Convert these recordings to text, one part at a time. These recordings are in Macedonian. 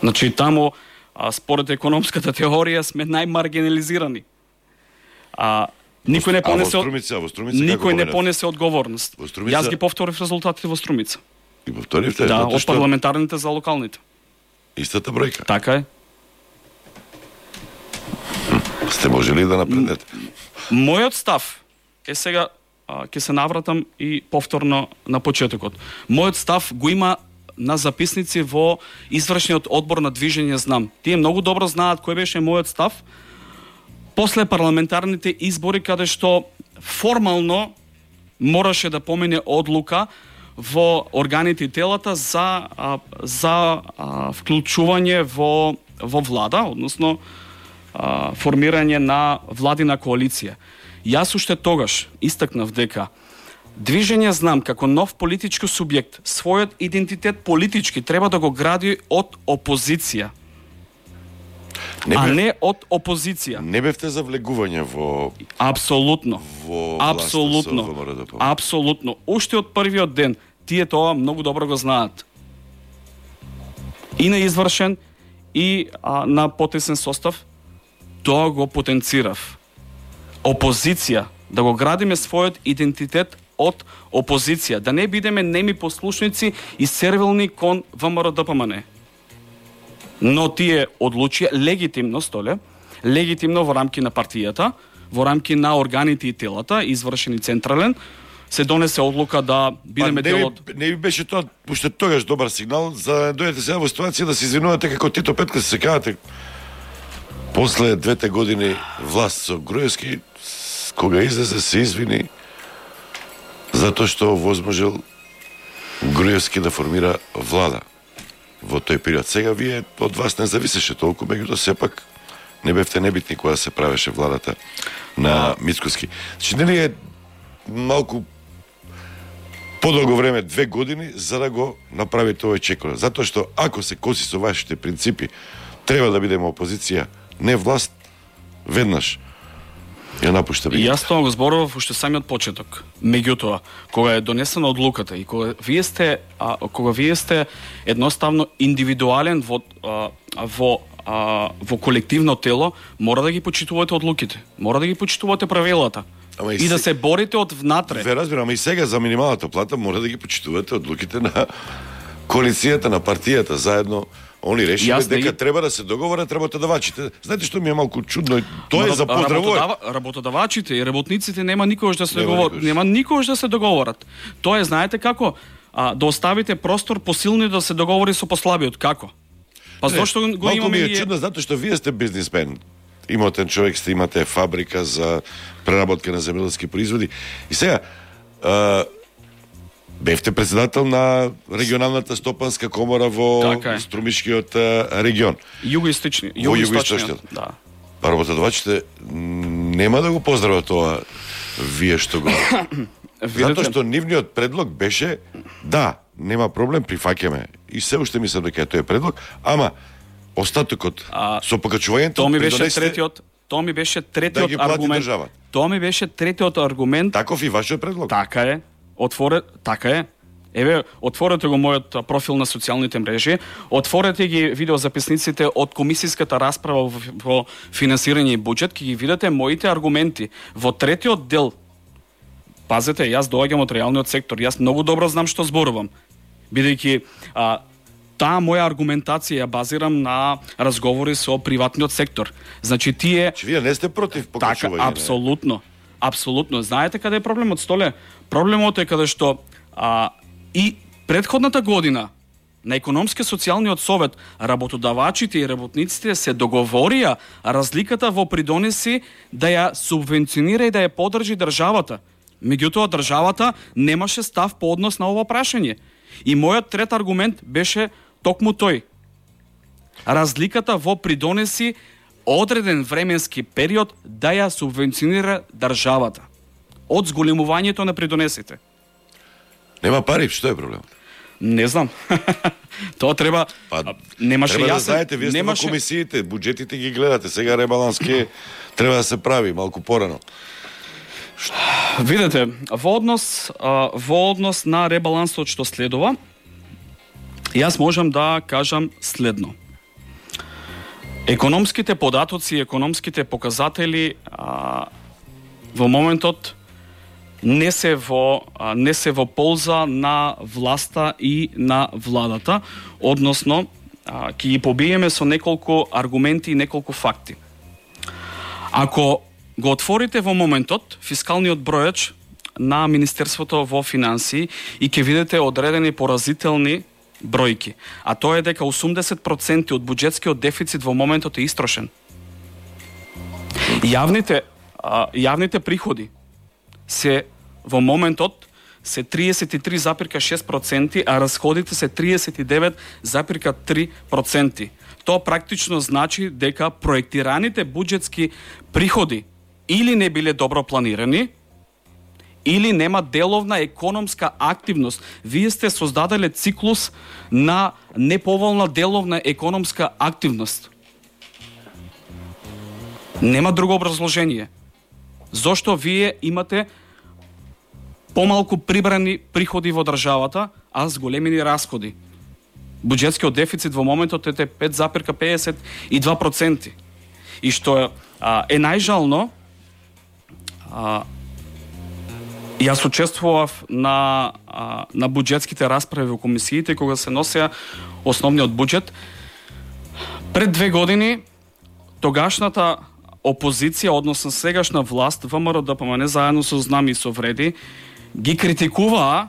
Значи, таму, според економската теорија, сме најмаргинализирани. Никој не понесе одговорност. Јас ги повторив резултатите во Струмица. И повторивте? Да, од парламентарните за локалните. Истата бројка? Така е. Сте можели да напреднете? Мојот став е сега, ќе се навратам и повторно на почетокот. Мојот став го има на записници во извршниот одбор на Движење Знам. Тие многу добро знаат кој беше мојот став после парламентарните избори, каде што формално мораше да помине одлука во органите и телата за вклучување во влада, односно формирање на владина коалиција. Јас уште тогаш истакнав дека Движење Знам како нов политички субјект својот идентитет политички треба да го гради од опозиција. Не од опозиција. Не бевте за влегување во... Апсолутно. Апсолутно. Уште од првиот ден тие тоа многу добро го знаат. И на извршен, и на потесен состав, тоа го потенцирав. Опозиција, да го градиме својот идентитет од опозиција, да не бидеме неми послушници и сервилни кон ВМРО-ДПМН. Но тие одлучија легитимно во рамки на партијата, во рамки на органите и телата, извршен и централен, се донесе одлука да бидеме дел од... Не би беше тоа уште тогаш добар сигнал за да дојдете сега во ситуација да се извинувате како Тито Петка, се кажате после 2 години власт со Груевски, кога излезе се извини затоа што возможел Груевски да формира влада во тој период. Сега вие од вас не зависеше толку, меѓутоа сепак не бевте небитни кога се правеше владата на Мицкоски. Значи нели е малку подолго време, 2 години, за да го направите овој чекор. Затоа што ако се коси со вашите принципи, треба да бидеме опозиција, не власт, веднаш ја напушта бигата. Јас тоа го зборував уште самиот почеток. Меѓутоа, кога е донесена одлуката и кога вие сте едноставно индивидуален во колективно тело, мора да ги почитувате одлуките, мора да ги почитувате правилата. И да се борите од внатре. Ве разбирам, ама и сега за минималната плата мора да ги почитувате одлуките на коалицијата, на партијата, заедно. Они решиле дека треба да се договорат работодавачите. Знаете што ми е малку чудно? Тоа е за поздравување. Работодавачите и работниците нема никогаш да се договорат. Нема никогаш да се договорат. Тоа е, знаете како? Да оставите простор посилни да се договори со послабиот. Како? Па зошто го имаме? Малку ми е чудно затоа што вие сте бизнисмен. Имотен човек сте, имате фабрика за преработка на земјоделски производи. И сега бевте председател на регионалната стопанска комора во Струмишкиот регион. Југоисточниот. Да. Па работодавачите нема да го поздрават тоа вие што го... Затоа што нивниот предлог беше да, нема проблем, прифаќаме. И се уште мислам дека тој е предлог, ама остатокот со покачувањето Тоа ми беше третиот аргумент. Тоа ми беше третиот аргумент. Таков и вашиот предлог. Така е. Така е. Еве, отворете го мојот профил на социјалните мрежи, отворете ги видеозаписниците од комисиската расправа во финансирање и буџет, ќе ги видите моите аргументи. Во третиот дел, пазете, јас доаѓам од реалниот сектор, јас многу добро знам што зборувам, бидејќи таа моја аргументација ја базирам на разговори со приватниот сектор. Значи тие... Вие не сте против покачување? Така, апсолутно. Апсолутно. Знаете каде е проблемот, Столе? Проблемот е каде што и претходната година на економски социјалниот совет работодавачите и работниците се договорија разликата во придонеси да ја субвенционира и да ја поддржи државата. Меѓутоа државата немаше став по однос на ова прашање. И мојот трет аргумент беше токму тој. Разликата во придонеси одреден временски период да ја субвенционира државата од зголемувањето на придонесите. Нема пари, што е проблемот? Не знам. Тоа треба... немаше треба јасен... да знаете, вие сте во комисиите, буџетите ги гледате, сега ребаланс треба да се прави малку порано. Видете, во однос на ребалансот што следува, Јас можам да кажам следно. Економските податоци, економските показатели во моментот не се во полза на власта и на владата, односно ќе ги побиеме со неколку аргументи и неколку факти. Ако го отворите во моментот фискалниот бројач на Министерството во финансии и ќе видите одредени поразителни бројки, а тоа е дека 80% од буџетскиот дефицит во моментот е истрошен. Јавните приходи се во моментот се 33,6%, а расходите се 39,3%. Тоа практично значи дека проектираните буџетски приходи или не биле добро планирани, или нема деловна економска активност. Вие сте создаделе циклус на неповолна деловна економска активност. Нема друго образложение. Зошто вие имате помалку прибрани приходи во државата, а зголемени расходи? Буџетскиот дефицит во моментот е 5,52%. И што е најжално, јас учествував на буџетските расправи во комисиите кога се носеа основниот буџет. Пред 2 години тогашната опозиција, односно сегашна власт, ВМРО-ДПМН заедно со знами и со вреди, ги критикуваа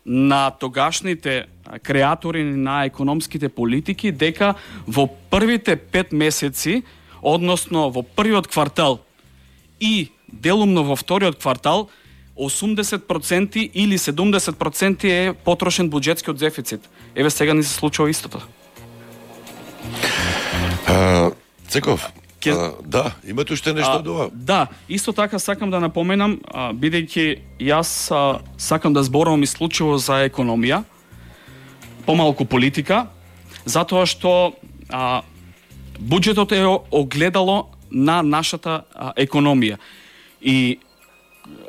на тогашните креатори на економските политики дека во првите 5 месеци, односно во првиот квартал и делумно во вториот квартал, 80% или 70% е потрошен буџетскиот дефицит. Еве сега ни се случува истото. Цеков, да, имате уште нешто од ова? Да, исто така сакам да напоменам, бидејќи јас сакам да зборувам исклучиво за економија, помалку политика, затоа што буџетот е огледало на нашата економија. И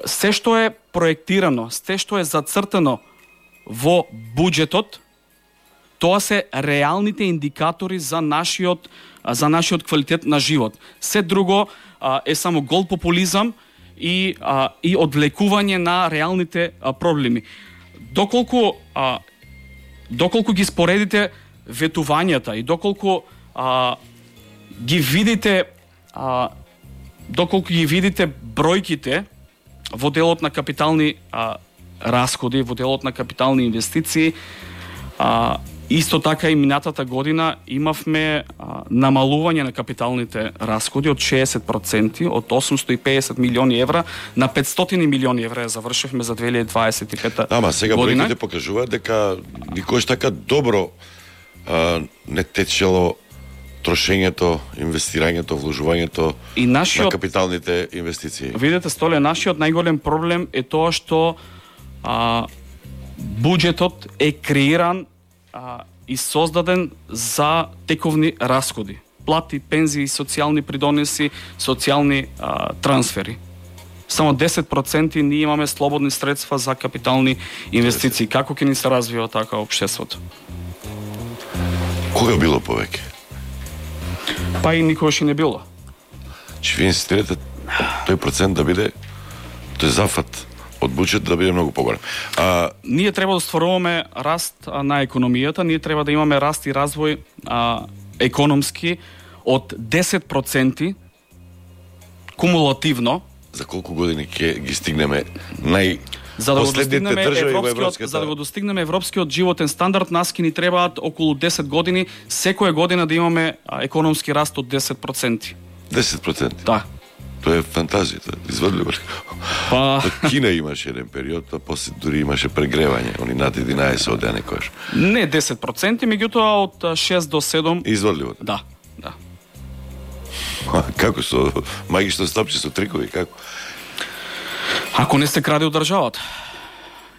се што е проектирано, се што е зацртано во буџетот, тоа се реалните индикатори за нашиот квалитет на живот. Се друго е само гол популизам и одвлекување на реалните проблеми. Доколку ги споредите ветувањата и доколку ги видите бројките во делот на капитални расходи, во делот на капитални инвестиции, исто така и минатата година имавме намалување на капиталните расходи од 60%, од 850 милиони евра на 500 милиони евра завршивме за 2025 Ама сега година. бројките покажуваат дека никош така добро не течело трошењето, инвестирањето, вложувањето на капиталните инвестиции. Видете, Столе, нашиот најголем проблем е тоа што буџетот е креиран и создаден за тековни расходи. Плати, пензии, социјални придонеси, социјални трансфери. Само 10% ние имаме слободни средства за капитални инвестиции. Како ќе ни се развива така општеството? Кога било повеќе? Па и никогаш и не било. Че ви инсистирате тој процент да биде, тој зафат од буџет да биде многу поголем. Ние треба да стваруваме раст на економијата, ние треба да имаме раст и развој економски од 10% кумулативно. За колку години ќе ги стигнеме За да го последните држави во европската? За да го достигнеме европскиот животен стандард, нас ќе ни требаат околу 10 години, секоја година да имаме економски раст од 10%. 10%? Да. Тоа е фантазија, тоа е изводливо. Па... Кина имаше еден период, а после дури имаше прегревање, они над 11 одеа некојаш. Не 10%, меѓутоа од 6 до 7... Изводливо? Да. Како со магично стапче, со трикови, како? Ако не се краде од државата.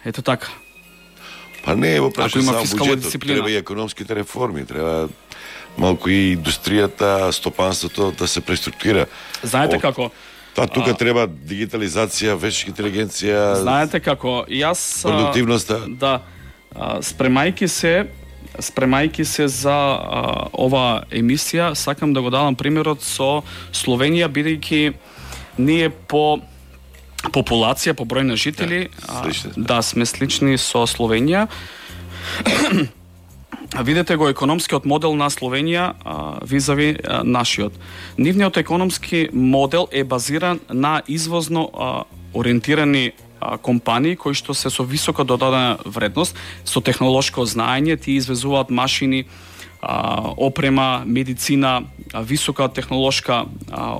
Ето така. Па не е во прашање само буџетот, дисциплина. треба и економските реформи, треба малку и индустријата, стопанството да се преструктурира. Знаете како? Тука треба дигитализација, вештачка интелигенција. Знаете како? Јас продуктивноста. Да. Спремајки се спремајќи се за ова емисија, сакам да го дадам примерот со Словенија, бидејќи ние по популација, по број на жители, да, сме слични со Словенија. Видете го економскиот модел на Словенија визави нашиот. Нивниот економски модел е базиран на извозно ориентирани компании кои што се со висока додадена вредност, со технолошко знаење, тие извезуваат машини, опрема, медицина, висока технолошка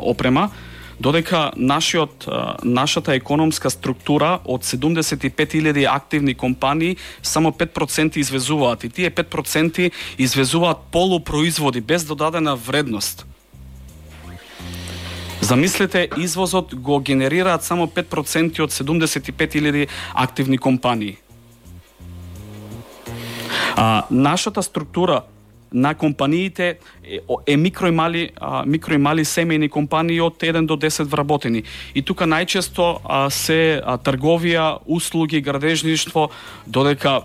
опрема, додека нашата економска структура од 75.000 активни компании само 5% извезуваат, и тие 5% извезуваат полупроизводи без додадена вредност. Замислете, извозот го генерираат само 5% од 75.000 активни компании. Нашата структура на компаниите е микро и мали семејни компании од 1 до 10 вработени. И тука најчесто се трговија, услуги, градежништво, додека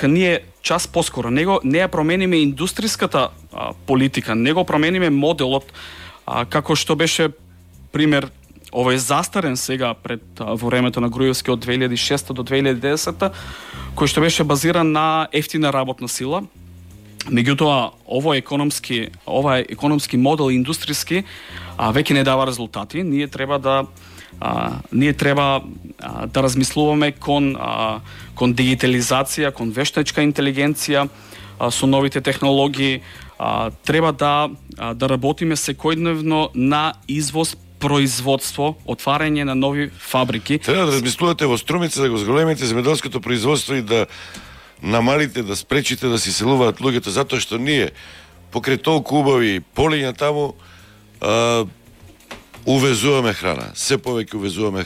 ние час поскоро не ја промениме индустриската политика, не го промениме моделот, како што беше пример, овој застарен сега во времето на Груевски од 2006 до 2010, кој што беше базиран на ефтина работна сила. Меѓутоа, ова економски модел индустријски веќе не дава резултати. Ние треба да размислуваме кон дигитализација, кон вештачка интелигенција, со новите технологии. Треба да работиме секојдневно на извоз, производство, отварање на нови фабрики. Треба да размислувате во Струмица да го зголемите земјоделското производство и да намалите, да спречите да се селуваат луѓето, затоа што ние покрај толку убави полиња таму увезуваме храна. Се повеќе увезуваме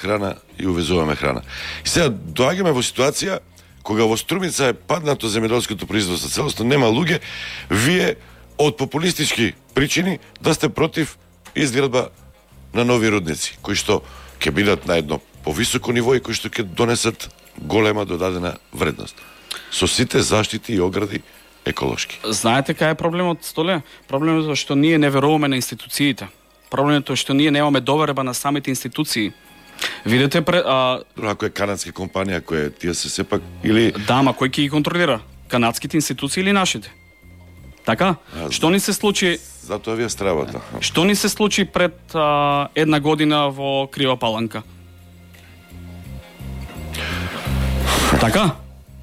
храна. И сега доаѓаме во ситуација кога во Струмица е паднато земјоделското производство, целосно нема луѓе, вие од популистички причини да сте против изградба на нови рудници, кои што ќе бидат на едно повисоко ниво и кои што ќе донесат голема додадена вредност. Со сите заштити и огради еколошки. Знаете кај е проблемот, Столе? Проблемот е што ние не веруваме на институциите. Проблемот е што ние немаме доверба на самите институции. Видете ако е канадска компанија, која тие се сепак или да, ма кој ќе ги контролира? Канадските институции или нашите? Така? Што ни се случи? Затоа ви е стравата. Што ни се случи пред една година во Крива Паланка? Така?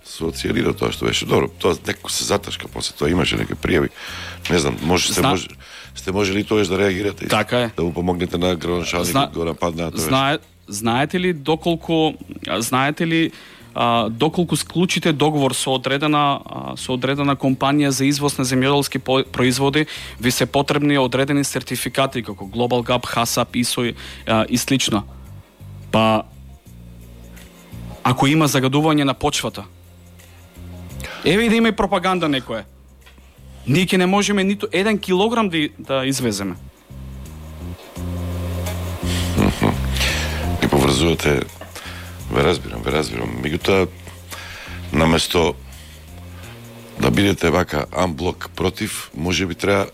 Социјалира тоа што беше добро. Тоа некој се заташка после тоа, имаше некои пријави. Не знам, сте можели тоаш да реагирате? Така е. Да му помогнете на градоначалникот да го нападне тоа. Знаете ли доколку склучите договор со одредена компанија за извоз на земјоделски производи, ви се потребни одредени сертификати како Global Gap, HACCP, ISO и слично. Па ако има загадување на почвата, еве и да има и пропаганда некоја, ние ќе не можеме ниту 1 килограм да извеземе. И поврзувате. Ве разбирам. Меѓутоа, наместо да бидете вака амблок против, може би треба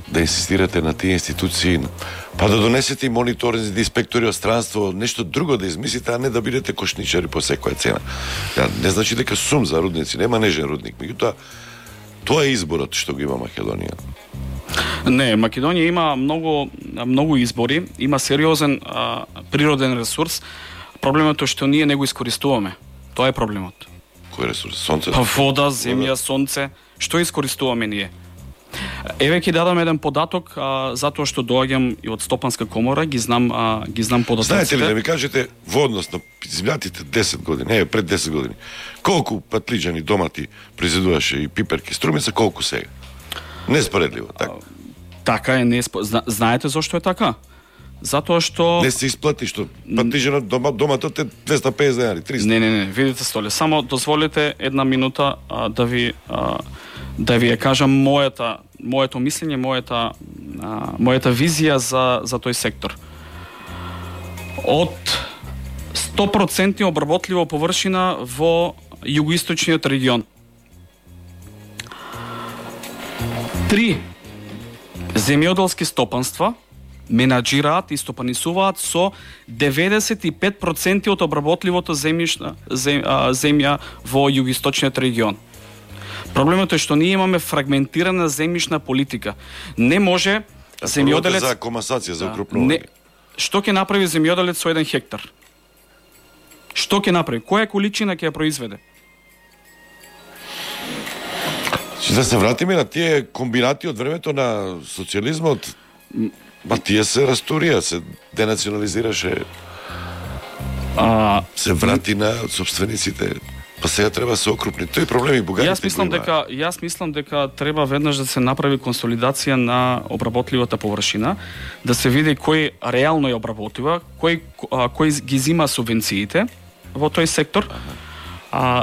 да инсистирате на тие институции, па да донесете и мониторинзи, да инспектори од странство, нешто друго да измислите, а не да бидете кошничари по секоја цена. Не значи дека сум за рудници, нема нежен рудник, меѓутоа тоа е изборот што го има Македонија. Не, Македонија има многу избори, има сериозен природен ресурс. Проблемот е што ние не го искористуваме. Тоа е проблемот. Кој ресурс? Сонце? Па вода, земја, сонце. Што искористуваме ние? Еве ќе дадам еден податок, затоа што доаѓам и од Стопанска комора, ги знам податоците. Знаете ли да ми кажете во однос на изминатите 10 години, пред 10 години, колку патлиџани, домати произведуваше и пиперки Струмица, колку сега? Неспоредливо, така. Така е, знаете зошто е така? Затоа што не се исплати што патлиџанот доматот е 250 денари, 300. Не, видите, Столе, само дозволите една минута да ви ја кажам моето мислење, мојата визија за тој сектор. Од 100% обработлива површина во југоисточниот регион, 3 земјоделски стопанства менаџираат и стопанисуваат со 95% од обработливото земја во југоисточниот регион. Проблемот е што ние имаме фрагментирана земјишна политика. Не може земјоделец за комасација, за укрупнување. Што ќе направи земјоделец со 1 хектар? Што ќе направи? Која количина ќе ја произведе? Да се вратиме на тие комбинати од времето на социјализмот. Ба тие се растурија, се денационализираше. Се врати на собствениците. Па сега треба да се окрупни. Тој проблеми бугарите. Јас мислам дека треба веднаш да се направи консолидација на обработливата површина, да се види кој реално ја обработува, кој ги зима субвенциите во тој сектор.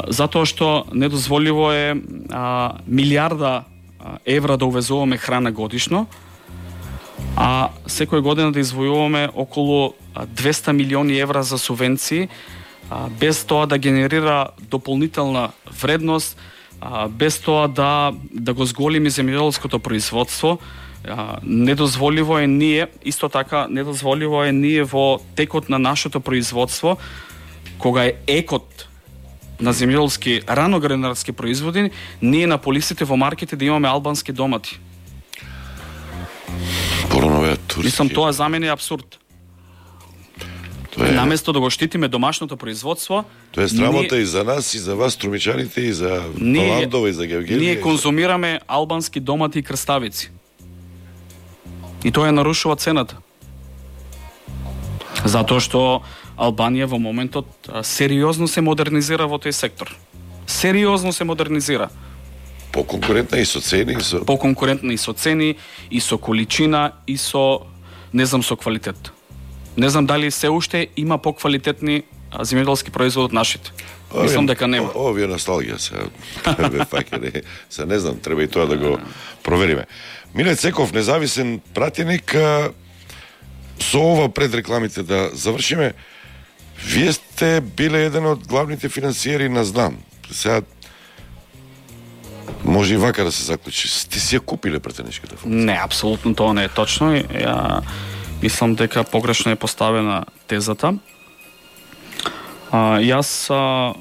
Затоа што недозволиво е милиарда евра да увезуваме храна годишно, а секој година да извојуваме околу 200 милиони евра за субвенции, без тоа да генерира дополнителна вредност, без тоа да го зголеми земјоделското производство. Недозволиво е ние, исто така, недозволиво е ние во текот на нашето производство, кога е екот на земјоделски раноградарски производи, ние на полисите во маркете да имаме албански домати. Мислам, тоа за мене е абсурд. Наместо да го штитиме домашното производство, тоа е срамота и за нас, и за вас, струмичаните, и за Паландова, и за Гевгелија. Ние конзумираме албански домати и крставици. И тоа ја нарушува цената. Затоа што Албанија во моментот сериозно се модернизира во тој сектор. Сериозно се модернизира. Поконкурентна и со цени, поконкурентна и со цени, и со количина, и со со квалитет. Не знам дали се уште има поквалитетни земјоделски производи од нашите. Мислам дека нема. Ово е носталгија се не знам, треба и тоа да го провериме. Милет Секов, независен пратеник, со ова пред рекламите да завршиме. Вие сте биле еден од главните финансиери на ЗНАМ. Сега може и вака да се заклучи. Сте си ја купиле пратеничката функција? Не, апсолутно тоа не е точно. Ја мислам дека погрешно е поставена тезата. Јас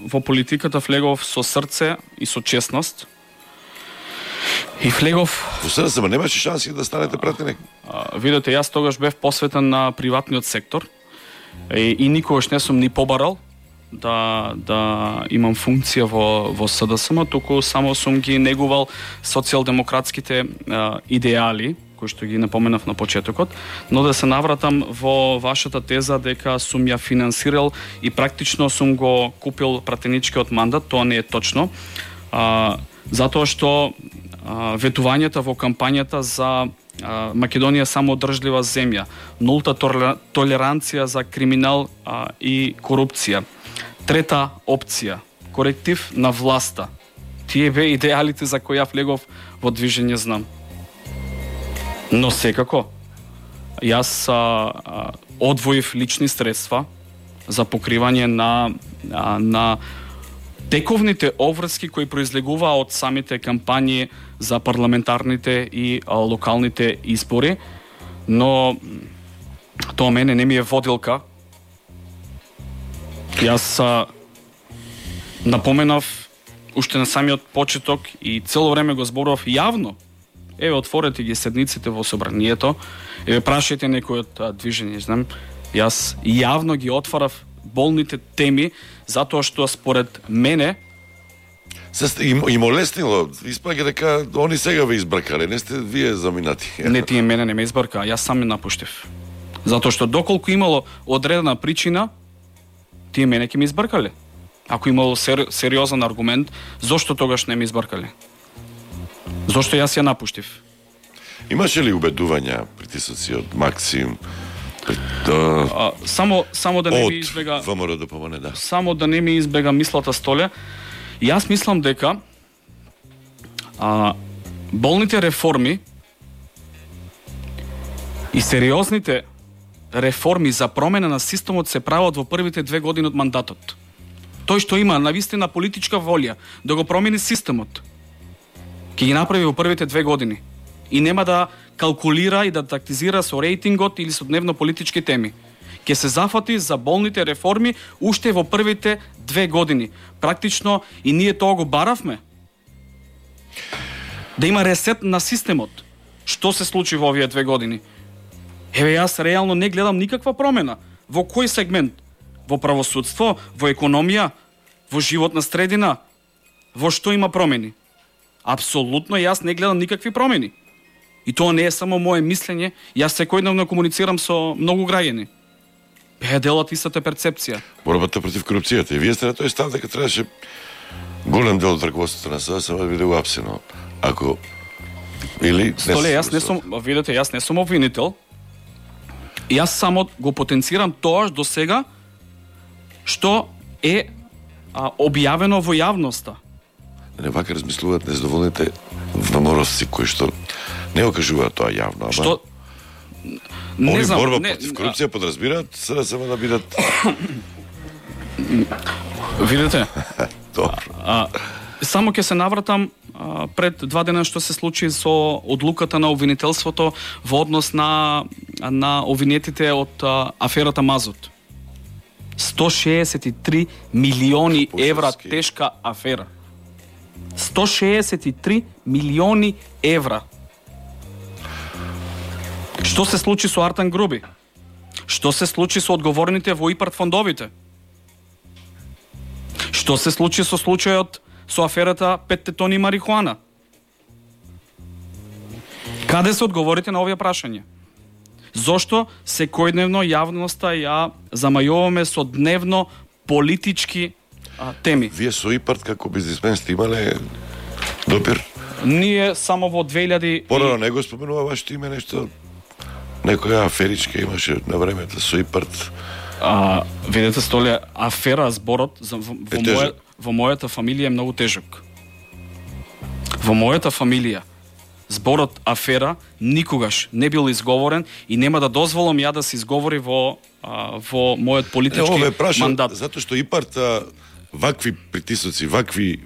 во политиката влегов со срце и со честност. И влегов... Во СДСМ немаше шанси да станете пратеник? Видете, јас тогаш бев посветен на приватниот сектор и никогаш не сум ни побарал да имам функција во СДСМ, туку само сум ги негувал социјалдемократските идеали, кои што ги напоменав на почетокот, но да се навратам во вашата теза дека сум ја финансирал и практично сум го купил пратеничкиот мандат, тоа не е точно, затоа што ветувањата во кампањата за Македонија самоодржлива земја, нулта толеранција за криминал и корупција. Трета опција, коректив на власта. Тие бе идеалите за кои ја влегов во движење ЗНАМ. Но секако, јас одвоив лични средства за покривање на тековните обврски кои произлегуваа од самите кампањи за парламентарните и локалните избори, но тоа мене не ми е водилка. Јас напоменав уште на самиот почеток и цело време го зборував јавно. Еве, отворете ги седниците во собранието, еве, прашајте некој од движење, знам. Јас јавно ги отварав болните теми, затоа што според мене и молеснило, испаѓа дека они сега ве избркале, не сте вие заминати. Не, тие мене не ме избркаа, јас сам ме напуштив. Затоа што доколку имало одредена причина, тие мене ќе ме избркале. Ако имало сериозен аргумент, зошто тогаш не ме избркале? Зошто јас ја напуштив? Имаше ли убедувања, притисоци од Максим? Само да не ми избега ВМРО да помане, да. Само да не ми избега мислата Столе. Јас мислам дека болните реформи и сериозните реформи за промена на системот се прават во првите 2 години од мандатот. Тој што има навистина политичка волја да го промени системот, ќе ги направи во првите 2 години. и нема да калкулира и да тактизира со рейтингот или со дневно-политички теми. Ке се зафати за болните реформи уште во првите 2 години. Практично и ние тоа го баравме. Да има ресет на системот. Што се случи во овие 2 години? Еве, јас реално не гледам никаква промена. Во кој сегмент? Во правосудство, во економија, во животна средина? Во што има промени? Апсолутно јас не гледам никакви промени. И тоа не е само мое мислење, јас секојдневно комуницирам со многу граѓани. Делат истата перцепција. Борбата против корупцијата. И вие сте на тој став дека требаше голем дел од раководството на СДСМ да биде уапсено. Ако или Столе, јас не сум, видите, јас не сум обвинител. Јас само го потенцирам тоа до сега што е објавено во јавноста. Не вака размислуваат незадоволните вморовци кои што не го кажуваат тоа јавно, ама Што не овие знам, борба не, против корупција подразбираат СДСМ да бидат видите, добро. само ќе се навратам пред 2 дена што се случи со одлуката на обвинителството во однос на обвинетите од аферата Мазут. 163 милиони евра тешка афера. 163 милиони евра. Што се случи со Артан Груби? Што се случи со одговорните во ИПАРТ фондовите? Што се случи со случајот со аферата 5 тони марихуана? Каде се одговорите на овие прашања? Зошто секојдневно јавноста ја замајуваме со дневно политички теми? Вие со ИПАРТ како бизнисмен сте имале допир? Ние само во 2000 Порано не го споменува вашето име нешто? Некоја аферичка имаше на времето со ИПАРТ. Видете, Столе, афера, зборот во мојата фамилија е многу тежок. Во мојата фамилија зборот афера никогаш не бил изговорен и нема да дозволам ја да се изговори во мојот политички мандат. Затоа што ИПАРТ вакви притисоци, вакви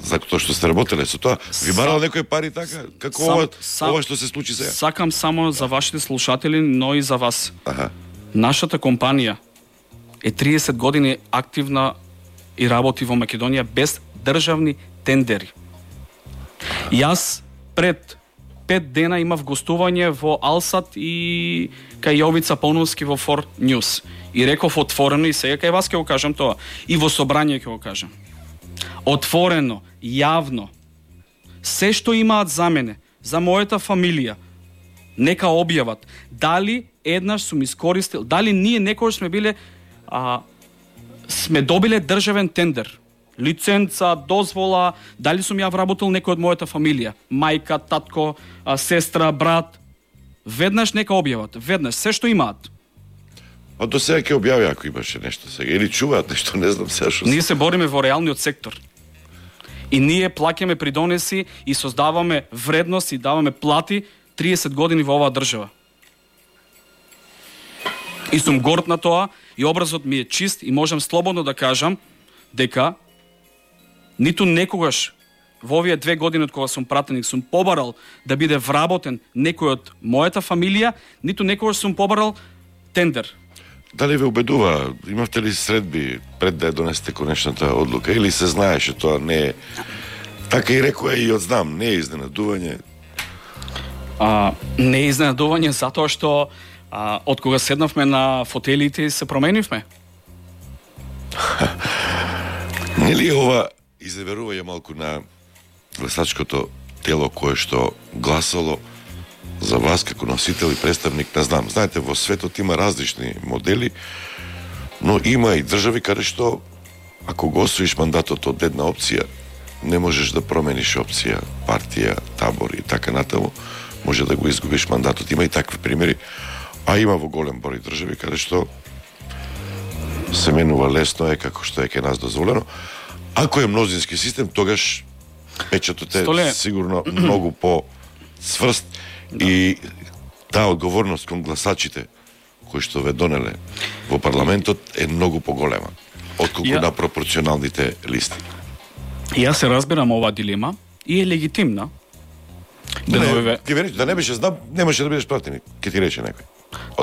за тоа што сте работеле со тоа, ви барал некои пари така, како ова што се случи сега? Сакам само за вашите слушатели, но и за вас. Нашата компанија е 30 години активна и работи во Македонија без државни тендери. Јас пред 5 дена имав гостување во Алсат и кај Јовица Поновски во Фор Ньюс. И реков отворено, и сега кај вас ќе го кажам тоа, и во собрање ќе го кажам. Отворено, јавно, се што имаат за мене, за мојата фамилија, нека објават дали еднаш сум искористил, дали ние некогаш сме биле сме добиле државен тендер, лиценца, дозвола, дали сум ја вработил некој од мојата фамилија, мајка, татко, сестра, брат. Веднаш нека објават, веднаш се што имаат. А до сега ќе објави ако имаше нешто сега или чуваат нешто, не знам сега што. Ние се бориме во реалниот сектор. И ние плаќаме придонеси и создаваме вредност и даваме плати 30 години во оваа држава. И сум горд на тоа и образот ми е чист и можам слободно да кажам дека ниту некогаш во овие 2 години од кога сум пратеник сум побарал да биде вработен некој од мојата фамилија, ниту некогаш сум побарал тендер. Дали ве убедува, имавте ли средби пред да ја донесете конечната одлука или се знаеше тоа не е? Така и рекоа и одзнам, не е изненадување. Не е изненадување затоа што од кога седнавме на фотелите се променивме. Нели ова изневерување малку на гласачкото тело кое што гласало за вас како носител и представник, не знам. Знаете, во светот има различни модели, но има и држави каде што ако го освоиш мандатот од една опција, не можеш да промениш опција, партија, табор и така натаму, може да го изгубиш мандатот. Има и такви примери, а има во голем број држави каде што се менува лесно е како што е кај нас дозволено. Ако е мнозински систем, тогаш печатот е сигурно многу по-цврст и таа одговорност кон гласачите кои што ве донеле во парламентот е многу поголема отколку на пропорционалните листи. Јас се разбирам оваа дилема и е легитимна. Да не беше знам, немаше да бидеш пратеник, ке ти рече некој.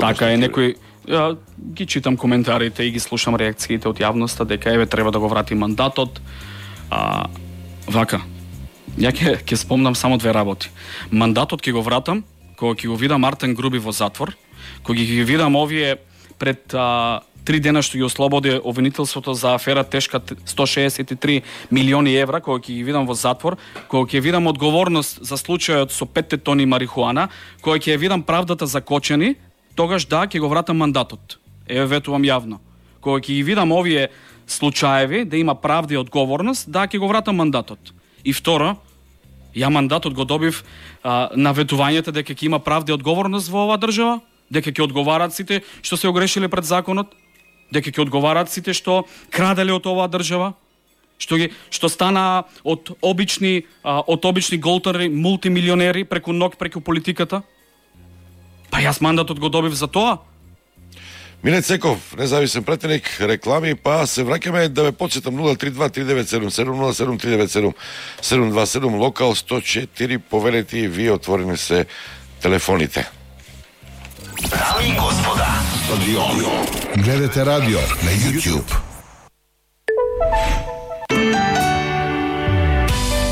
Така е, некој ги читам коментарите и ги слушам реакциите од јавноста дека еве треба да го врати мандатот. Вака. Ја ќе спомнам само две работи. Мандатот ќе го вратам кога ќе го видам Артем Груби во затвор, кога ќе ги видам овие пред 3 дена што ги ослободи обвинителството за афера тешка 163 милиони евра, кога ќе ги видам во затвор, кога ќе видам одговорност за случајот со 5 тони марихуана, кога ќе видам правдата за Кочани, тогаш да, ќе го вратам мандатот. Еве ветувам јавно. Кога ќе ги видам овие случаеви, да има правда и одговорност, да, ќе го вратам мандатот. И второ, ја мандатот го добив на ветувањето дека ќе има правда и одговорност во оваа држава, дека ќе одговарат сите што се огрешиле пред законот, дека ќе одговарат сите што краделе од оваа држава, што стана од обични голтари, мултимилионери преку ног, преку политиката. Па јас мандатот го добив за тоа. Милет Секов, независен пратеник, реклами, па се враќаме да ве потсетам 032-397-7, 007-397-727, локал 104, повелете и вие, отворени се телефоните. Дами и господа, стадион. Гледате радио на YouTube.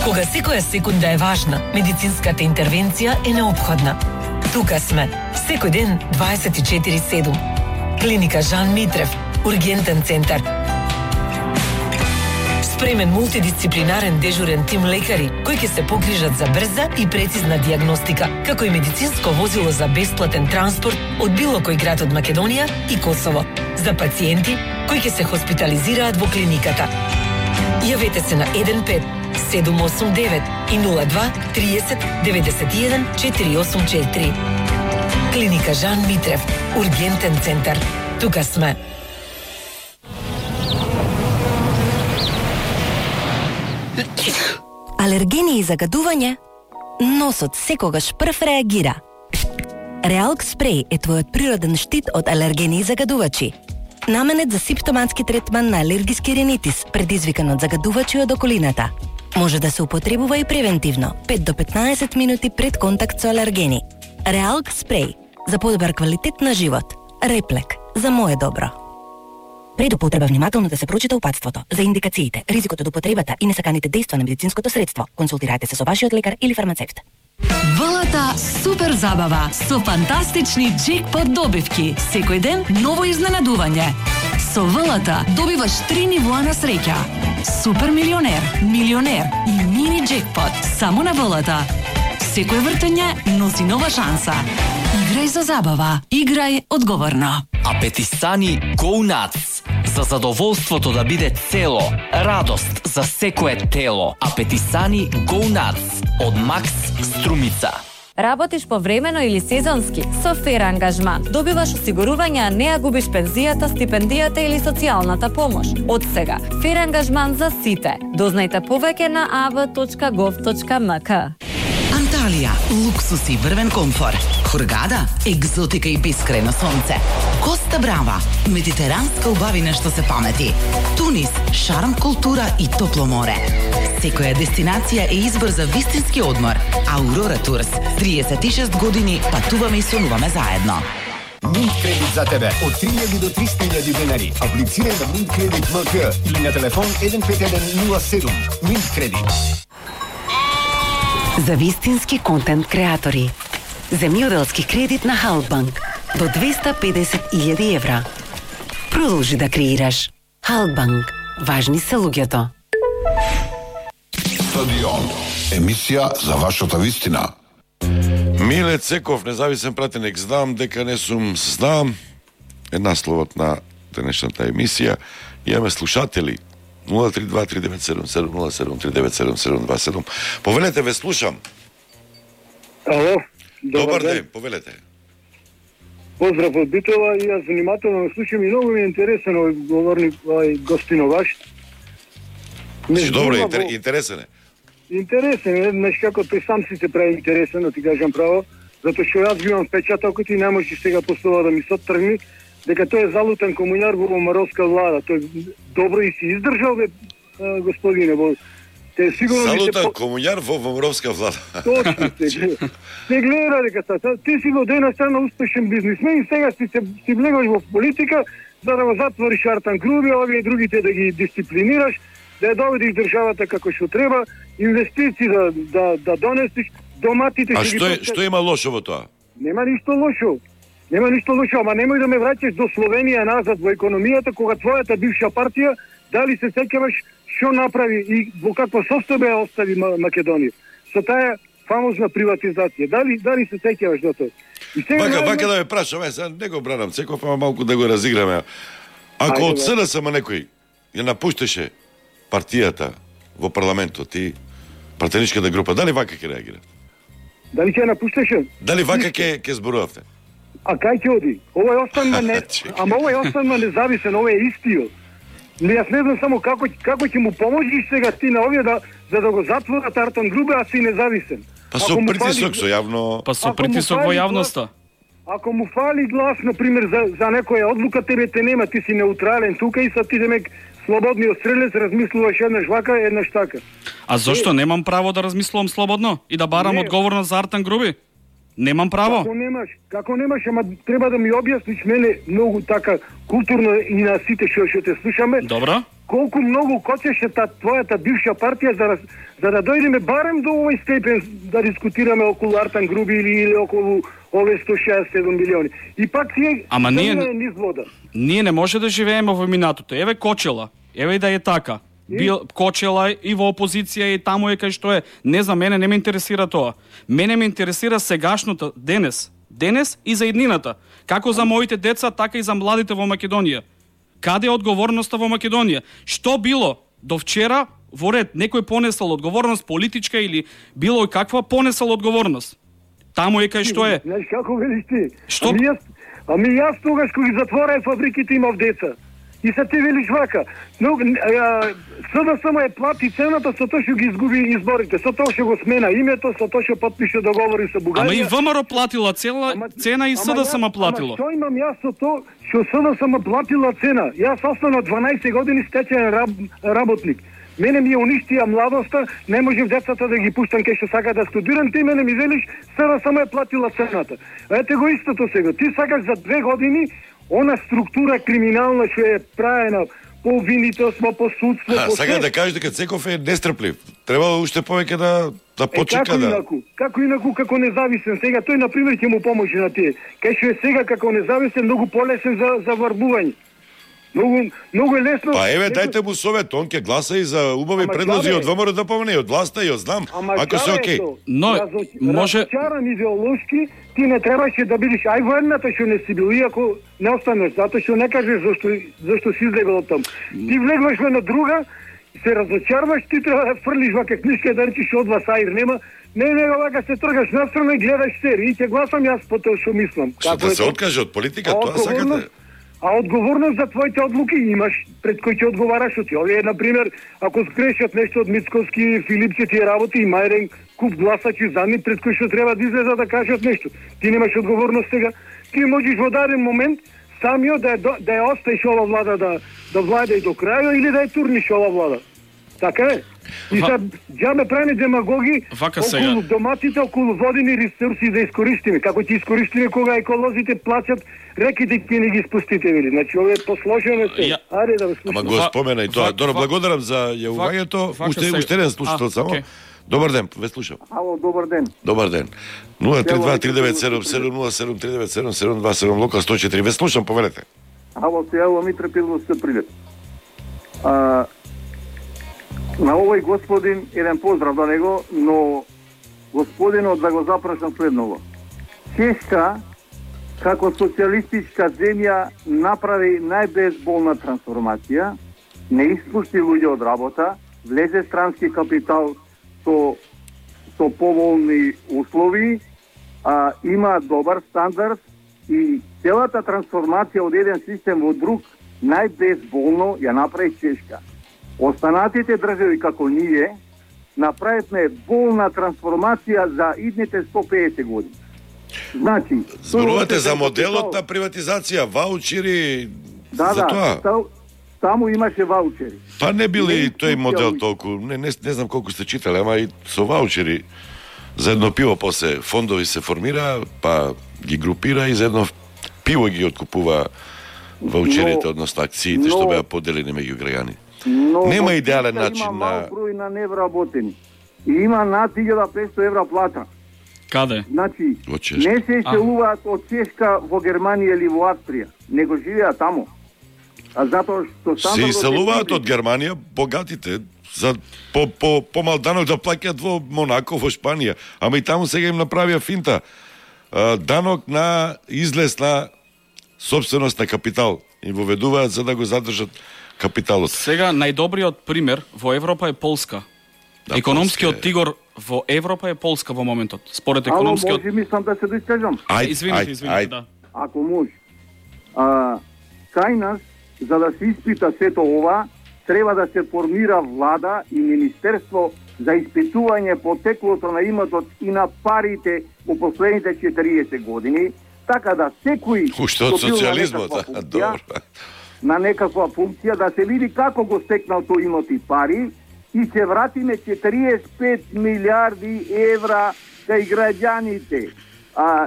Кога секоја секунда е важна, медицинската интервенција е неопходна. Тука сме, секој ден 24/7. Клиника Жан Митрев, ургентен центар. Спремен мултидисциплинарен дежурен тим лекари кои ќе се погрижат за брза и прецизна дијагностика, како и медицинско возило за бесплатен транспорт од било кој град од Македонија и Косово, за пациенти кои ќе се хоспитализираат во клиниката. Јавете се на 15 789 и 02 30 91 484. Клиника Жан Митрев, ургентен центар. Тука сме. Алергени и загадување? Носот секогаш прв реагира. Реалк спреј е твојот природен штит од алергени и загадувачи. Наменет за симптоматски третман на алергиски ринитис, предизвикан од загадувачи од околината. Може да се употребува и превентивно, 5 до 15 минути пред контакт со алергени. Реалк спреј, за подобар квалитет на живот. Реплек, за мое добро. Пред употреба внимателно да се прочита упатството за индикациите, ризикот од употребата и несаканите дејства на медицинското средство. Консултирајте се со вашиот лекар или фармацевт. ВЛТ супер забава со фантастични джекпот добивки. Секој ден ново изненадување. Со ВЛТ добиваш 3 нивоа на среќа. Супер милионер, милионер и мини джекпот само на ВЛТ. Секој вртење носи нова шанса. Играј за забава, играј одговорно. Апетисани Go Nuts. За задоволството да биде цело, радост за секое тело. Апетисани Go Nuts од Макс Струмица. Работиш повремено или сезонски? Со Фер ангажман добиваш осигурување, а не ја губиш пензијата, стипендијата или социјалната помош. Од сега, Фер ангажман за сите. Дознајте повеќе на av.gov.mk. Анталија, луксус и врвен комфор. Хургада, екзотика и бескрајно сонце. Коста Брава, медитеранска убавина што се памети. Тунис, шарм, култура и топло море. Секоја дестинација е избор за вистински одмор. Аурора Турс, 36 години патуваме и сонуваме заедно. Mint кредит за тебе од 3000 до 300.000 денари. Аплицирај на Mint кредит МК или на телефон 155107. Mint кредит. За вистински контент креатори. Земјоделски кредит на Халкбанк до 250.000 евра. Продолжи да креираш. Халкбанк. Важни се луѓето. Стадион. Емисија за вашата вистина. Милет Секов, независен пратеник, знам дека не сум знам. Е насловот на денешната емисија. Имаме слушатели. 032-397-707-397-727. Повелете, ве слушам. Ало, добар ден, повелете. Поздрав од Битола и јас внимателно слушам и многу ми е интересен овој говорник, овој гостино ваш. Добро, интересен е. Интересен е, знаеш како тој сам си се прави интересен, да ти кажам право, затоа што јас ги имам впечатокот и не можеш сега после ова да ми се оттргни, дека тој е залутен комуњар во омаровска влада. Тој добро и си издржал, бе, господине, во Те сигурно Салута комуњар во Вомровска влада. Точно се гледа дека ти си во една страна успешен бизнисмен и сега си влегаш во политика за да го затвориш Артан Груби, овие другите да ги дисциплинираш, да ја доведиш државата како што треба, инвестиции да донесиш, доматите... А што има лошо во тоа? Нема ништо лошо. Нема ништо лошо, ама немој да ме враќаш до Словенија назад во економијата, кога твојата бивша партија, дали се сеќаваш што направи и во каква состојба ја остави Македонија со таа фамозна приватизација. Дали се сеќаваш до тоа? Вака да ме прашам, сега не го бранам Цеков, ама малку да го разиграме. Ако од СДСМ некој ја напуштеше партијата во парламентот и пратеничката група, дали вака ќе реагира? Дали ќе напуштеше? Дали вака ќе зборувавте? А кај ќе оди? Овој останува ама овој останува независен, овој е истиот. Јас не знам само како ќе му поможиш сега ти на овие за да го затворат Артан Грубе, а си независен. Па со притисок, со јавно... Па со притисок во јавноста. Ако му фали глас, например, за некоја одлука, тебе те нема, ти си неутрален тука и са ти демек слободни острелец, размислуваш еднаш вака, еднаш така. А зошто немам право да размислувам слободно и да барам одговорност за Артан Груби? Немам право. Како немаш, ама треба да ми објасниш мене многу така културно и на сите што те слушаме. Добро. Колку многу кочеше твојата бивша партија за да дојдеме барем до овој степен да дискутираме околу Артан Груби или околу овие 167 милиони. И пак си ама ние не може да живееме во минатото. Еве Кочела, еве и да е така. Бил Кочела и во опозиција и таму е кај што е. Не за мене не ме интересира тоа. Мене ме интересира сегашното денес и за иднината. Како за моите деца, така и за младите во Македонија. Каде е одговорноста во Македонија? Што било до вчера во ред некој понесал одговорност политичка или било и каква понесал одговорност? Таму е кај што е. Знаеш како велиш ти? Што? Ами јас тогаш кога ги затвораа фабриките имав деца. И се ти велиш вака. Но СДСМ е плати цената со тоа што ги изгуби изборите, со тоа што го смена името, со тоа што потпише договори со Бугарија. Ама и ВМРО платила цена и СДСМ платило. Ама што имам јас со тоа што СДСМ платила цена? Јас останав 12 години стечаен работник. Мене ми ја уништија младоста, не можев децата да ги пуштам кај што сака да студирам, ти мене ми велиш СДСМ е платила цената. Ете го истото сега. Ти сакаш за 2 години она структура криминална што е правена по обвинителство, по судство, по сакаш да кажеш дека Цеков е нестрплив. Треба уште повеќе да почека Како инаку како независен сега тој на пример ќе му поможе на тие. Кај што е сега како независен многу полесен за варбување. Многу е лесно. Па еве дајте му совет, он ќе гласа и за убави предлози од ВМРО да помине од власта и од знам. Ако се окей. Но може разчаран идеолошки ти не требаше да бидеш ај во едната што не си бил, иако не останеш, затоа што не кажеш зашто си излегол од таму. Ти влегваш во една друга, се разочарваш, ти треба да фрлиш вака книшка да речиш од вас аир нема. Не, вака се тргаш настрана и гледаш серии и ќе гласам јас по тоа што мислам. Што да се откаже од политика, тоа сакате? А одговорност за твоите одлуки имаш пред кој ќе одговараш од ти. Овие, например, ако скрешат нешто од Мицковски, Филипче тие работи, има еден куп гласачи за нив пред кој што треба да излезат да кажат нешто. Ти немаш одговорност сега. Ти можеш во даден момент самиот да ја оставиш ова влада да владе и до крај или да ја турниш ова влада. Така е. И сега џабе правиме демагоги околу доматите, околу водени ресурси да искористиме. Како ќе искористиме кога еколозите плачат реките ќе не ги спустите, вели. Значи овие посложено се. Ајде да слушаме. Ама го спомена и тоа. Добро, благодарам за јавувањето. Уште еден слушател само. Добар ден, ве слушам. Ало, добар ден. Добар ден. 032-3977-07-727 Лока 104. Ве слушам, повелете. Ало, се јавува Митре Пилов се прилет. На овој господин еден поздрав до него, но господинот да го запрашам следново. Чешка, како социјалистичка земја, направи најбезболна трансформација, не испушти луѓе од работа, влезе странски капитал со поволни услови, има добар стандард и целата трансформација од еден систем во друг најбезболно ја направи Чешка. Останатите држави како ние направивме болна трансформација за идните 150 години. Значи, зборувате за моделот на приватизација, ваучери, за тоа. таму имаше ваучери. Па не бил и тој модел толку, не знам колку сте читали, ама и со ваучери за едно пиво после фондови се формира, па ги групира и за едно пиво ги откупува ваучерите, односно акциите што беа поделени меѓу граѓани. Нема идеален начин има на... мал број на невработени. И има над 1500 евра плата. Каде? Значи, Во Чешка. не се селуваат од Чешка во Германија или во Австрија, него живеат таму. А затоа што Се иселуваат од Германија богатите за помал данок да плаќаат во Монако, во Шпанија. Ама и таму сега им направија финта. Данок на излез на собственост на капитал. И воведуваат за да го задржат капиталот. Сега најдобриот пример во Европа е Полска. Да, Економскиот тигор во Европа е Полска во моментот. Според економскиот... Ало, може мислам да се доискажам? Извините, да. Ако може. Кај нас, за да се испита сето ова, треба да се формира влада и министерство за испитување потеклото на имотот и на парите во последните 40 години, така да секој Уште од социјализмот, добро. На некаква функција да се види како го стекнал тој имот и пари и се вратиме 45 милиарди евра кај граѓаните,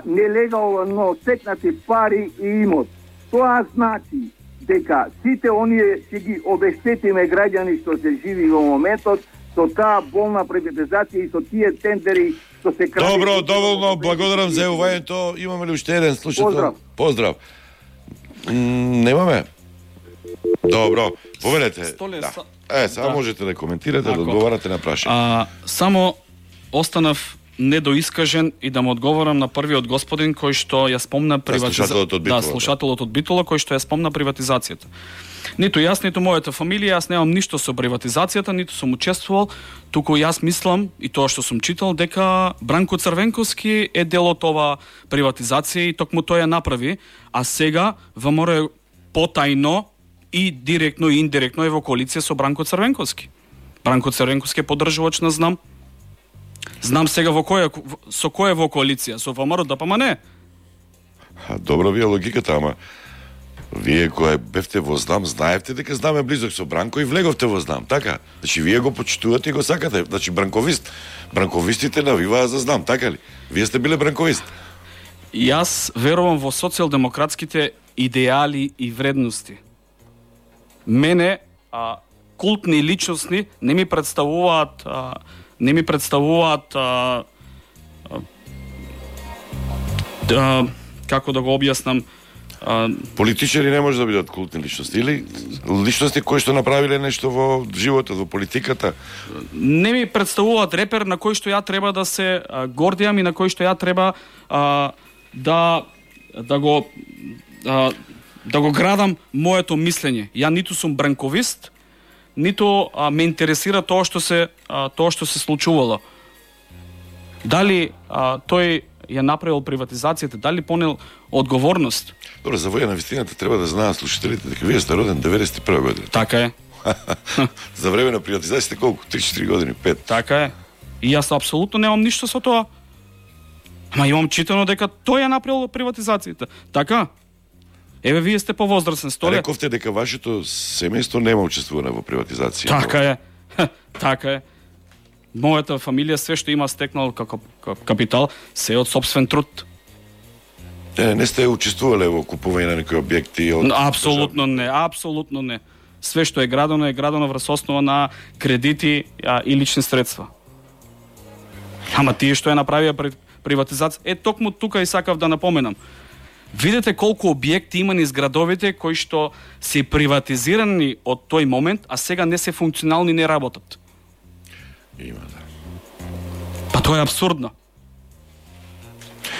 нелегално стекнати пари и имот. Тоа значи дека сите оние ќе ги обештетиме граѓани што се живи во моментот со таа болна приватизација и со тие тендери што се краде. Добро, доволно, благодарам за јавувањето. Имаме ли уште еден слушател? Поздрав. Немаме. Добро, повелете. Сега можете да коментирате, да одговарате на прашање. Само останав недоискажен и да му одговорам на првиот господин кој што ја спомна слушателот од Битола кој што ја спомна приватизацијата. Ниту јас, ниту мојата фамилија, јас немам ништо со приватизацијата, ниту сум учествувал, туку јас мислам и тоа што сум читал дека Бранко Црвенковски е дел од ова приватизација и токму тој ја направи, а сега ВМРО е потајно и директно и индиректно е во коалиција со Бранко Црвенковски. Бранко Црвенковски е поддржувач на Знам. Знам сега со кој е во коалиција, со ВМРО ДПМН. Добро ви е логиката, ама вие кој бевте во Знам, знаевте дека Знам е близок со Бранко и влеговте во Знам, така? Значи вие го почитувате и го сакате. Значи бранковист. Бранковистите навиваа за Знам, така ли? Вие сте биле бранковист. Јас верувам во социјалдемократските идеали и вредности. Мене култни личности не ми представуваат како да го објаснам, политичари не може да бидат култни личности или личности кои што направиле нешто во животот, во политиката. Не ми представуваат репер на кој што ја треба да се гордијам и на кој што ја треба да го градам моето мислење. Ја ниту сум бранковист, ниту ме интересира тоа што се случувало. Дали тој ја направил приватизацијата, дали понел одговорност? Добро, за воја на вистината треба да знаат слушателите дека вие сте роден 91 година. Така е. За време на приватизацијата колку? 3-4 години, 5. Така е. И јас апсолутно немам ништо со тоа. Ама имам читано дека тој ја направил приватизацијата. Така? Еве, вие сте повозрасен, Столе. Рековте дека вашето семејство нема учествувано во приватизација. Така е. Така е. Мојата фамилија све што има стекнал како капитал се од собствен труд. Не сте учествувале во купување на некои објекти? Апсолутно не, апсолутно не. Све што е градено врз основа на кредити и лични средства. Ама тие што ја направија приватизација, токму тука и сакав да напоменам. Видете колку објекти има низ градовите кои што се приватизирани од тој момент, а сега не се функционални, не работат. Има, да. Па тоа е абсурдно.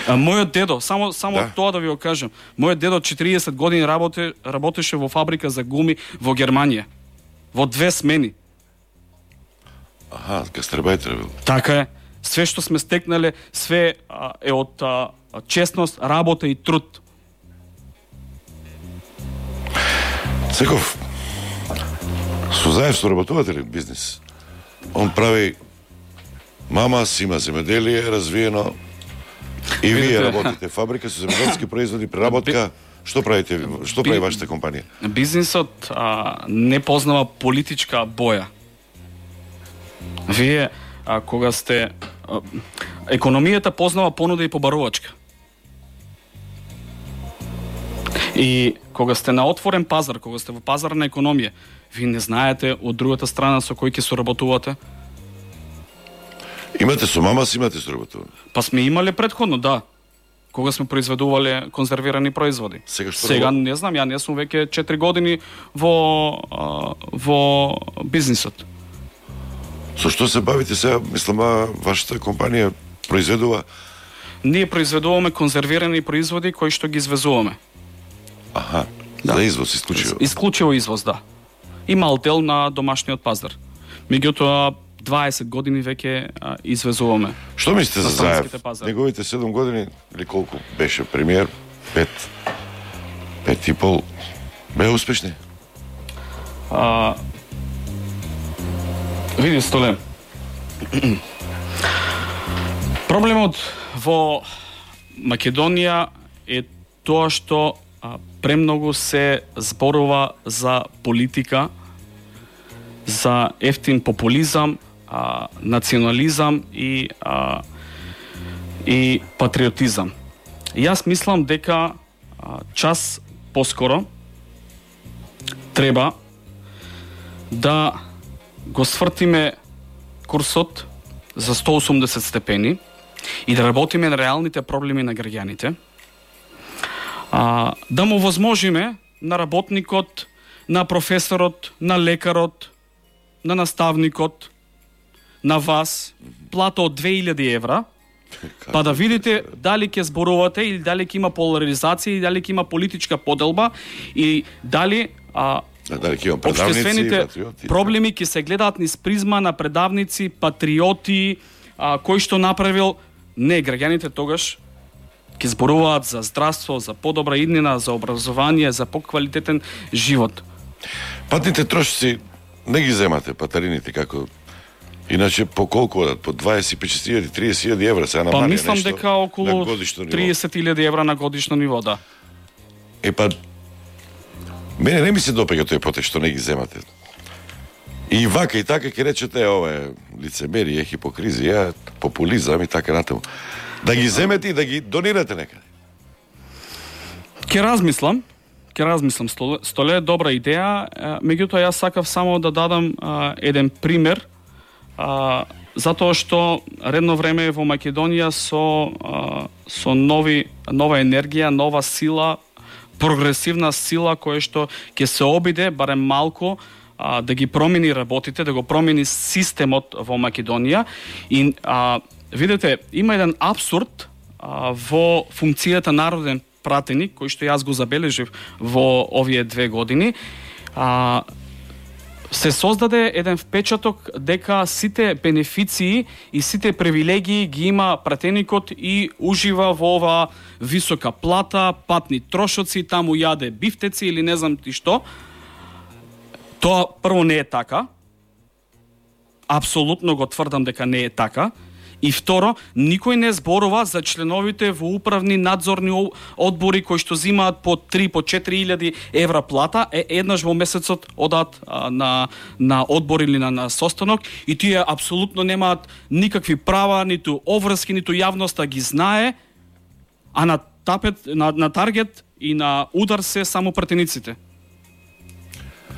Мојот дедо, само да. Тоа да ви го кажам, мојот дедо 40 години работеше во фабрика за гуми во Германија. Во 2 смени. гастарбајтер бил. Така е. Све што сме стекнале, све е од честност, работа и труд. Секов, Сузаев соработувате ли бизнис? Он прави мама си има земеделие развиено и вие работите фабрика со земеделски производи, преработка. Што правите? Што прави вашата компанија? Бизнисот не познава политичка боја. Вие кога сте економијата познава понуда и побарувачка. И кога сте на отворен пазар, кога сте во пазарна економија, ви не знаете од другата страна со кој ќе соработувате. Имате со мама, имате соработуване. Па сме имале претходно, да. Кога сме произведувале конзервирани производи. Сега не знам, ја не сум веќе 4 години во бизнисот. Со што се бавите сега? Мислам, вашата компанија произведува? Ние произведуваме конзервирани производи кои што ги извезуваме. Аха, да. За извоз исклучиво. Исклучиво извоз, да. И мал дел на домашниот пазар. Меѓутоа 20 години веќе извезуваме. Што мислите за Заев? Неговите 7 години или колку беше премиер? 5 и пол. Беа успешни? Види, Столе. Проблемот во Македонија е тоа што премногу се зборува за политика, за ефтин популизам, национализам и патриотизам. Јас мислам дека час поскоро треба да го свртиме курсот за 180 степени и да работиме на реалните проблеми на граѓаните, да му возможиме на работникот, на професорот, на лекарот, на наставникот, на вас, плата од 2000 евра, па да видите дали ќе зборувате или дали ќе има поларизација или дали ќе има политичка поделба и дали општествените проблеми ќе се гледаат низ призма на предавници, патриоти, кој што направил. Не, граѓаните тогаш ќе зборуваат за здравство, за подобра иднина, за образование, за поквалитетен живот. Патните трошци не ги земате, патарините, како иначе по колку одат? По 25.000, 30.000 евра сега намалија нешто? Па мислам дека околу 30.000 евра на годишно ниво, да. Мене не ми се допега тој потек што не ги земате. И вака и така ќе речете, ова е лицемерие, хипокризија, популизам и така натаму. Да ги земете и да ги донирате некаде. Ќе размислам, Столе, добра идеја, меѓутоа јас сакав само да дадам еден пример, затоа што редно време во Македонија со нова енергија, нова сила, прогресивна сила која што ќе се обиде барем малку да ги промени работите, да го промени системот во Македонија. И видете, има еден абсурд во функцијата народен пратеник, кој што јас го забележив во овие 2 години. Се создаде еден впечаток дека сите бенефиции и сите привилегии ги има пратеникот и ужива во ова висока плата, патни трошоци, таму јаде бифтеци или не знам ти што. Тоа прво не е така. Апсолутно го тврдам дека не е така. И второ, никој не зборува за членовите во управни надзорни одбори кои што зимаат по 3 по 4.000 евра плата, еднаш во месецот одат на одбор или на состанок и тие апсолутно немаат никакви права, ниту обврски, ниту јавноста ги знае, а на таргет и на удар се само пратениците.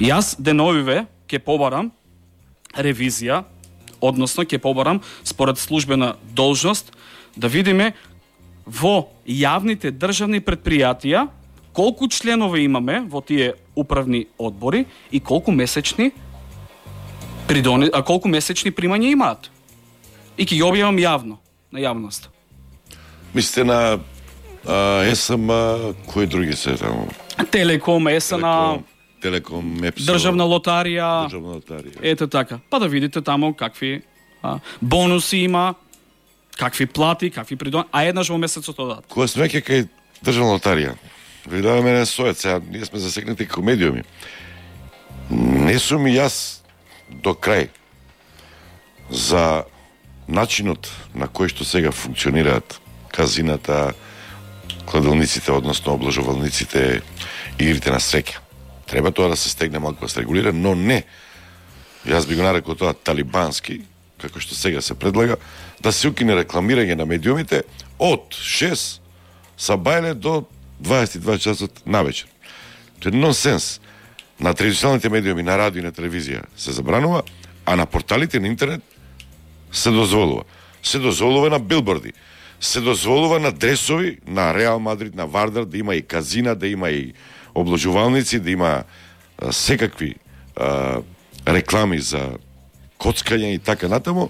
Јас деновиве ќе побарам ревизија, односно ќе побарам според службена должност да видиме во јавните државни претпријатија колку членови имаме во тие управни одбори и колку месечни примања имаат. И ќе ги објавам јавно на јавноста. Мислите на ЕСМ, кои други се таму? Телеком, ЕСНА, Телеком, МЕПСО, Државна лотарија. Ете така. Па да видите таму какви бонуси има, какви плати, какви придон, а еднаш во месецот одат. Кога сме веќе кај Државна лотарија, видаваме мене сојот, сега ние сме засекнати како медиуми. Не сум и јас до крај за начинот на кој што сега функционираат казината, кладилниците, односно обложувалниците, игрите на среќа. Треба тоа да се стегне малку, да се регулира, но не. Јас би го нарекол тоа талибански, како што сега се предлага, да се укине рекламирање на медиумите од 6 сабајле до 22 часот навечер. Тоа е нонсенс. На традиционалните медиуми, на радио и на телевизија се забранува, а на порталите на интернет се дозволува. Се дозволува на билборди, се дозволува на дресови, на Реал Мадрид, на Вардар, да има и казина, да има и обложувалници, да има секакви реклами за коцкање и така натаму.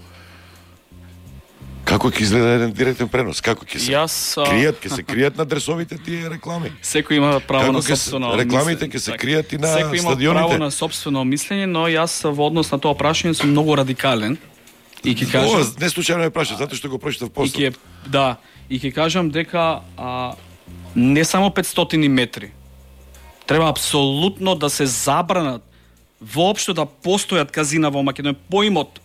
Како ќе изгледа еден директен пренос? Како ќе се кријат, ќе се кријат на дресовите тие реклами? Секој има право на сопствено рекламите ќе се кријат и на стадионите. Секој има право на сопствено мислење, но јас во однос на тоа прашање сум многу радикален. И ќе кажам, ова не случајно е прашање, затоа што го прочитав постот. И ќе кажам дека не само 500 метри. Треба апсолутно да се забранат воопшто да постојат казина во Македонија, поимот,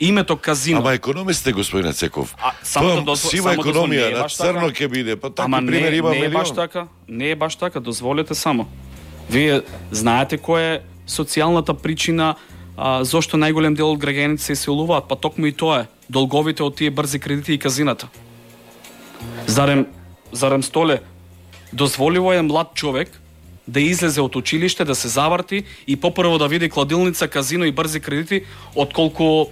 името казино. Ама економисте, господине Цеков. Тоа сива економија, на црно ќе биде, па такви примери има милион. Не е баш така, не е баш така, дозволете само. Вие знаете која е социјалната причина зошто најголем дел од граѓаните се иселуваат, па токму и тоа е долговите од тие брзи кредити и казината. Зарем Столе, дозволиво е млад човек да излезе од училиште, да се заврти и попрво да види кладилница, казино и брзи кредити, отколку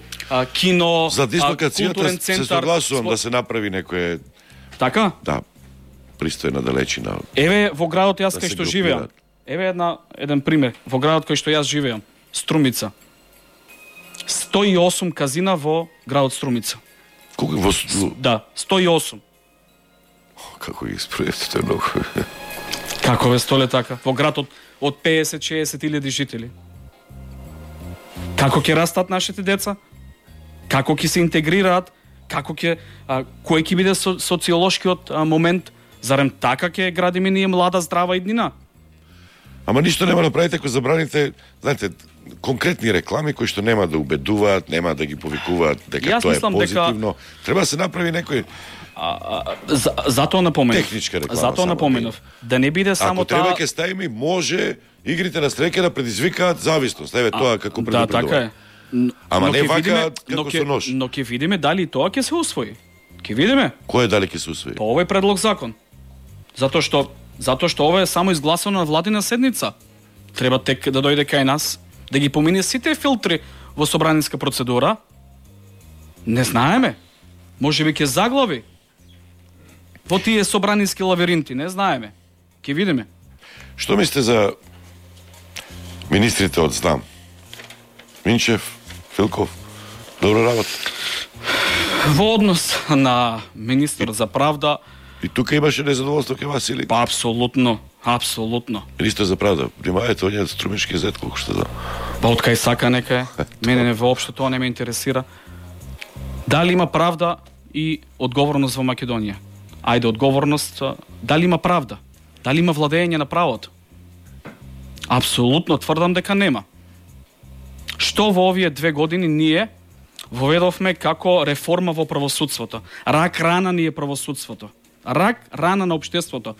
кино, за културен центар. Се согласувам да се направи некое... Така? Да, пристојна далечина. Еве во градот јас кај што живеам. Еве еден пример. Во градот кај што јас живеам, Струмица. 108 казина во градот Струмица. Колку во... Да, 108. Како ги спроведете, тоа е многу. Како ве Столе така? Во град од 50-60 илјади жители. Како ќе растат нашите деца? Како ќе се интегрираат? Како ќе кој ќе биде социолошкиот момент? Зарем така ќе градиме ние млада здрава иднина? Ама ништо нема да правите ако забраните, знаете, конкретни реклами кои што нема да убедуваат, нема да ги повикуваат дека тоа е позитивно. Треба да се направи некој затоа напоменав. Техничка реклама. Затоа напоменав. Да не биде само таа. Ако треба ќе ставиме, може игрите на среќа да предизвикаат зависност. Еве тоа како предупредување. Да, така е. Ама не вака како со нож. Но ќе видиме дали тоа ќе се усвои. Ќе видиме. Кој дали ќе се усвои? По овој предлог закон. Затоа што ова е само изгласано на владина седница. Треба тек да дојде кај нас, да ги помине сите филтри во собраниска процедура. Не знаеме. Можеби ќе заглави во тие собраниски лавиринти, не знаеме. Ќе видиме. Што мислите за министрите од ЗНАМ? Минчев, Филков, добро работа? Во однос на министр за правда... И тука имаше незадоволство кај Васили? Па, апсолутно, апсолутно. Министр за правда, примајате оние Струмишки зет, колку што знам. Па, од кај сака нека е. Мене воопшто тоа не ме интересира. Дали има правда и одговорност во Македонија? Ајде, одговорност, дали има правда? Дали има владење на правото? Апсолутно тврдам дека нема. Што во овие 2 години ние воведовме како реформа во правосудството? Рак рана ни е правосудството. Рак рана на општеството.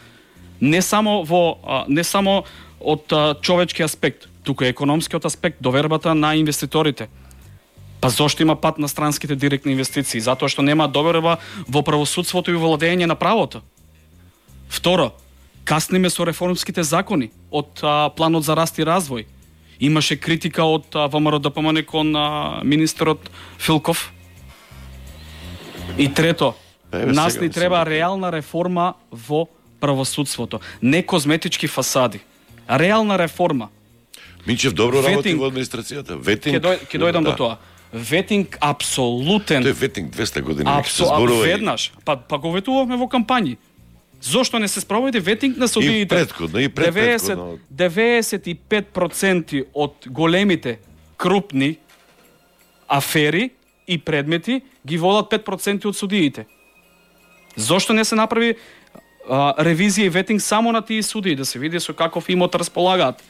Не само од човечки аспект, туку е економскиот аспект, довербата на инвеститорите. Па зошто има пат на странските директни инвестиции? Затоа што нема доверба во правосудството и владење на правото. Второ, касниме со реформските закони од планот за раст и развој. Имаше критика од ВМРО-ДПМН кон министерот Филков. И трето, нас ни треба реална реформа во правосудството. Не козметички фасади. Реална реформа. Минчев добро работи во администрацијата. Ветинг... Ќе дојдам до тоа. Ветинг апсолутен. Тој ветинг 200 години веќе се зборува. Веднаш. Па го ветувавме во кампањи. Зошто не се спроведе ветинг на судиите? И предходно. 95% од големите крупни афери и предмети ги водат 5% од судиите. Зошто не се направи ревизија и ветинг само на тие судии, да се види со каков имот располагаат?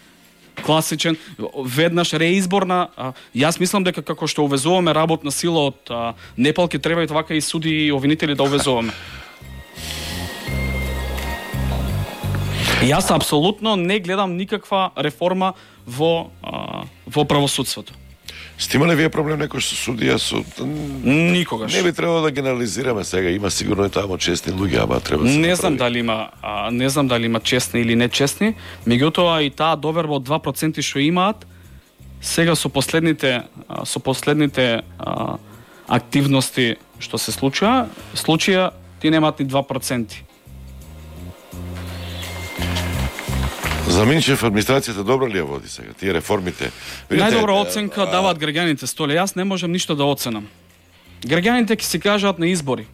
Класичен, веднаш реизбор на... Јас мислам дека како што увезуваме работна сила од Непал, ќе треба и така и суди и обвинители да увезуваме. Јас апсолутно не гледам никаква реформа во правосудството. Сте имале вие проблем некој со судија со никогаш? Не би требало да генерализираме сега, има сигурно и таму честни луѓе, ама треба да се не знам дали има честни или нечестни, меѓутоа и таа доверба од 2% што имаат сега со последните активности што се случија ти немаат ни 2%. За Минчев администрацијата добро ли ја води сега? Тие реформите? Најдобра оценка даваат граѓаните, Столе. Јас не можам ништо да оценам. Граѓаните ќе си кажат на избори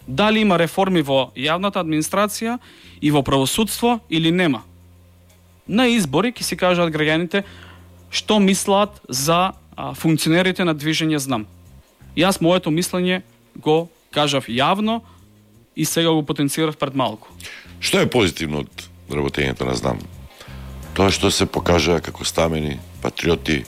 дали има реформи во јавната администрација и во правосудство или нема. На избори ќе си кажат граѓаните што мислат за функционерите на Движење Знам. Јас моето мислење го кажав јавно и сега го потенцирав пред малку. Што е позитивно од работењето на Знам? Тоа што се покажа како стамени, патриоти,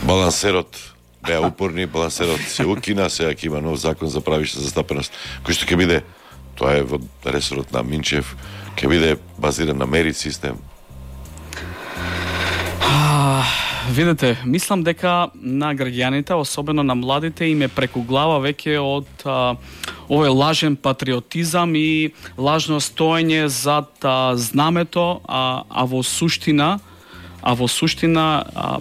балансерот, беа упорни, балансерот се укина, сега ќе има нов закон за правишна застапеност, кој што ќе биде, тоа е во ресорот на Минчев, ќе биде базиран на мерит систем. Видете, мислам дека на граѓаните, особено на младите, им е преку глава веќе од овој лажен патриотизам и лажно стоење зад знамето, а во суштина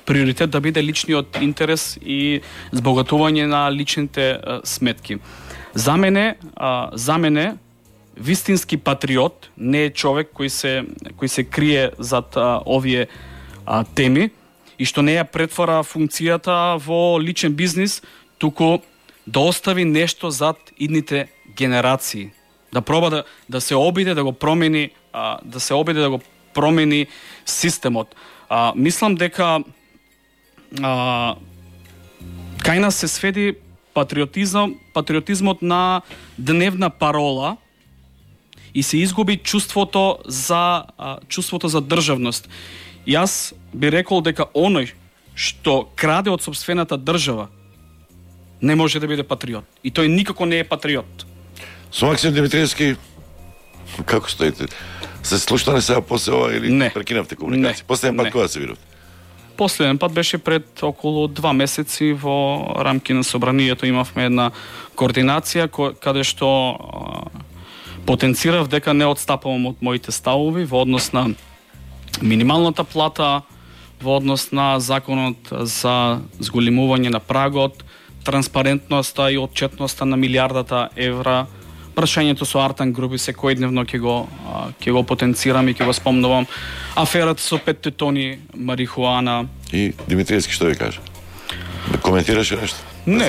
приоритет да биде личниот интерес и збогатување на личните сметки. За мене вистински патриот не е човек кој се крие зад овие теми и што не ја претвара функцијата во личен бизнис, туку да остави нешто зад идните генерации. Да проба да се обиде да го промени, системот. Мислам дека кај нас се сведи патриотизмот на дневна парола и се изгуби чувството за државност. Јас би рекол дека оној што краде од сопствената држава не може да биде патриот. И тој никако не е патриот. Со Максим Димитриевски, како стоите? Се слушнали сега после ова или не прекинавте комуникација? Последен пат кога се видовте? Последен пат беше пред околу 2 месеци во рамки на собранието. Имавме една координација каде што потенцирав дека не отстапувам од моите ставови во однос на минималната плата, во однос на законот за зголемување на прагот, транспарентноста и отчетноста на милиардата евра, прашањето со Артан Групи секојдневно ќе го потенцирам и ќе го спомнувам, аферата со 5 тони марихуана. И Димитриевски што ви каже? Да коментираше нешто? Не,